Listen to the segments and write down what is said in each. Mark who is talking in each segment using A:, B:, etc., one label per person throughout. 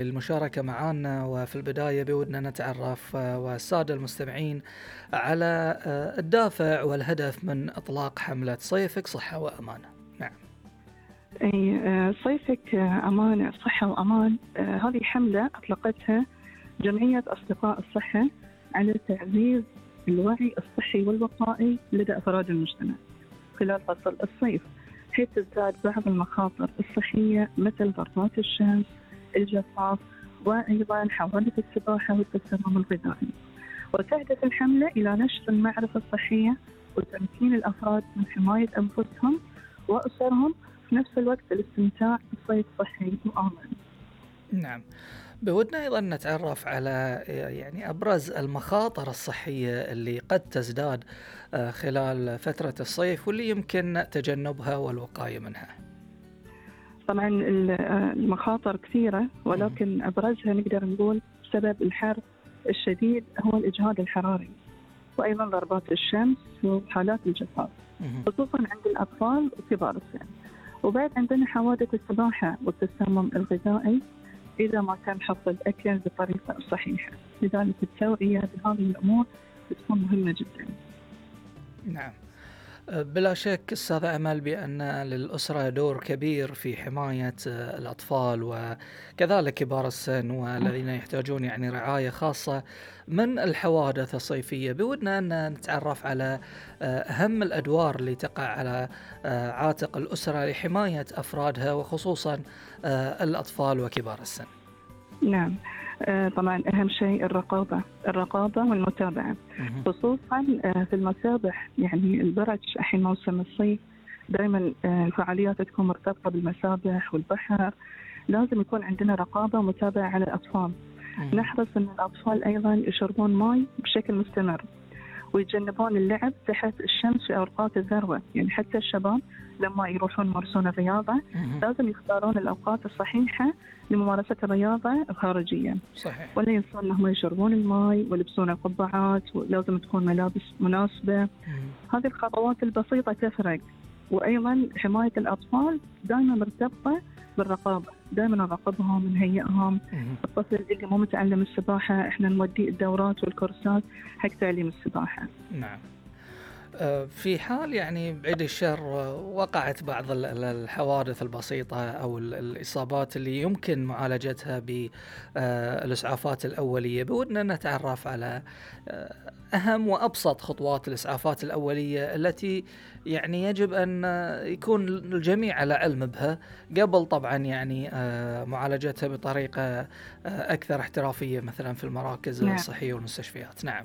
A: المشاركة معنا. وفي البداية بودنا نتعرف والسادة المستمعين على الدافع والهدف من إطلاق حملة صيفك صحة وأمان. نعم.
B: صيفك أمان، صحة وأمان. هذه حملة أطلقتها جمعية أصدقاء الصحة على تعزيز الوعي الصحي والوقائي لدى أفراد المجتمع خلال فصل الصيف، حيث تزداد بعض المخاطر الصحية مثل ضربات الشمس، الجفاف، وأيضا حوادث السباحة والتسمم الغذائي. وتهدف الحملة إلى نشر المعرفة الصحية وتمكين الأفراد من حماية أنفسهم وأسرهم، في نفس الوقت الاستمتاع بصيف صحي وآمن.
A: نعم. بودنا أيضا نتعرف على يعني أبرز المخاطر الصحية اللي قد تزداد خلال فترة الصيف واللي يمكن تجنبها والوقاية منها.
B: طبعا المخاطر كثيرة، ولكن أبرزها نقدر نقول بسبب الحر الشديد هو الإجهاد الحراري، وأيضا ضربات الشمس وحالات الجفاف خصوصا عند الأطفال وكبار السن. وبعد عندنا حوادث السباحة والتسمم الغذائي إذا ما تم حفظ الأكل بطريقة صحيحة، لذلك التوعية بهذه الأمور بتكون مهمة جدا.
A: نعم. بلا شك أستاذ أمل بأن للأسرة دور كبير في حماية الأطفال وكذلك كبار السن والذين يحتاجون يعني رعاية خاصة من الحوادث الصيفية. بودنا أن نتعرف على أهم الأدوار اللي تقع على عاتق الأسرة لحماية أفرادها وخصوصا الأطفال وكبار السن.
B: نعم. طبعا أهم شيء الرقابة والمتابعة، خصوصا في المسابح. يعني البرج الحين موسم الصيف، دائما الفعاليات تكون مرتبطة بالمسابح والبحر. لازم يكون عندنا رقابة ومتابعة على الأطفال. نحرص أن الأطفال أيضا يشربون ماء بشكل مستمر ويتجنبون اللعب تحت الشمس في أوقات الذروة. يعني حتى الشباب لما يروحون يمارسون الرياضة لازم يختارون الأوقات الصحيحة لممارسة الرياضة الخارجية.
A: صحيح.
B: ولا ينسون أنهم يشربون الماء ويلبسون القبعات، ولازم تكون ملابس مناسبة. هذه الخطوات البسيطة تفرق. وأيضا حماية الأطفال دائما مرتبطة بالرقابة، دائما نراقبهم نهيئهم. الطفل اللي مو متعلم السباحة احنا نوديه الدورات والكورسات حق تعليم السباحة.
A: نعم. في حال يعني بعيد الشر وقعت بعض الحوادث البسيطة أو الإصابات اللي يمكن معالجتها بالإسعافات الأولية، بودنا نتعرف على أهم وأبسط خطوات الإسعافات الأولية التي يعني يجب أن يكون الجميع على علم بها قبل طبعا يعني معالجتها بطريقة أكثر احترافية مثلا في المراكز الصحية والمستشفيات. نعم.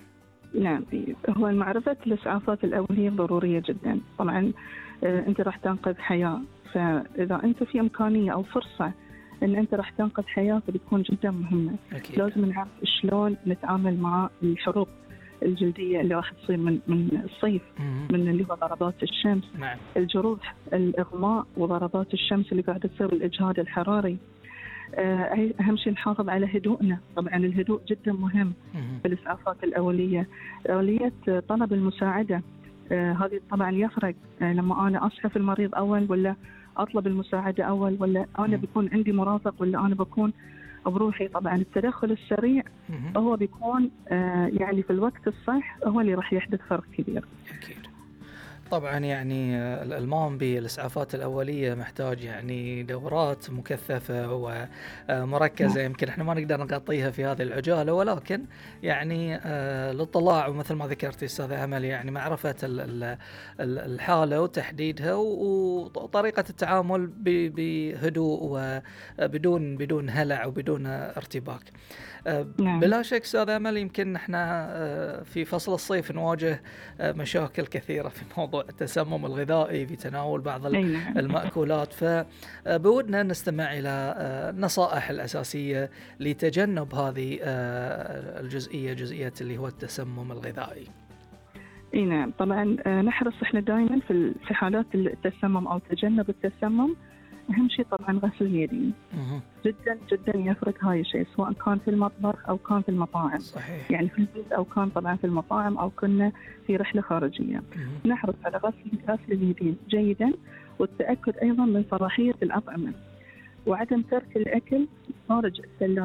B: نعم. هو معرفة الإسعافات الأولية ضرورية جدا. طبعا أنت راح تنقذ حياة، فإذا أنت في إمكانية أو فرصة أن أنت راح تنقذ حياة فبتكون جدا مهمة.
A: أكيد.
B: لازم نعرف شلون نتعامل مع الحروق الجلدية اللي راح تصير من الصيف، من اللي هو ضربات الشمس.
A: نعم.
B: الجروح، الإغماء وضربات الشمس اللي قاعدة تصير الإجهاد الحراري. أهم شيء نحافظ على هدوءنا. طبعا الهدوء جدا مهم في الإسعافات الأولية. أولية طلب المساعدة هذه طبعا يفرق لما أنا أصحف المريض أول ولا أطلب المساعدة أول، ولا أنا بيكون عندي مرافق ولا أنا بكون بروحي. طبعا التدخل السريع هو بيكون يعني في الوقت الصح هو اللي راح يحدث فرق كبير.
A: أكيد. طبعا يعني المام بالإسعافات الأولية محتاج يعني دورات مكثفة ومركزة. يمكن احنا ما نقدر نغطيها في هذه العجالة، ولكن يعني الاطلاع ومثل ما ذكرت أستاذ أمل يعني معرفة الحالة وتحديدها وطريقة التعامل بهدوء وبدون هلع وبدون ارتباك. بلا شك أستاذ أمل يمكن احنا في فصل الصيف نواجه مشاكل كثيرة في موضوع التسمم الغذائي في تناول بعض المأكولات، فبودنا نستمع إلى النصائح الأساسية لتجنب هذه جزئية اللي هو التسمم الغذائي.
B: نعم. طبعا نحرص احنا دائما في حالات التسمم أو تجنب التسمم. أهم شيء طبعا غسل اليدين. جدا جدا يفرق هاي الشيء، سواء كان في المطبخ أو كان في المطاعم.
A: صحيح.
B: يعني في البيت أو كان طبعا في المطاعم أو كنا في رحلة خارجية. نحرص على غسل اليدين جيدا، والتأكد أيضا من صلاحية الأطعمة، وعدم ترك الأكل خارج الثلاجة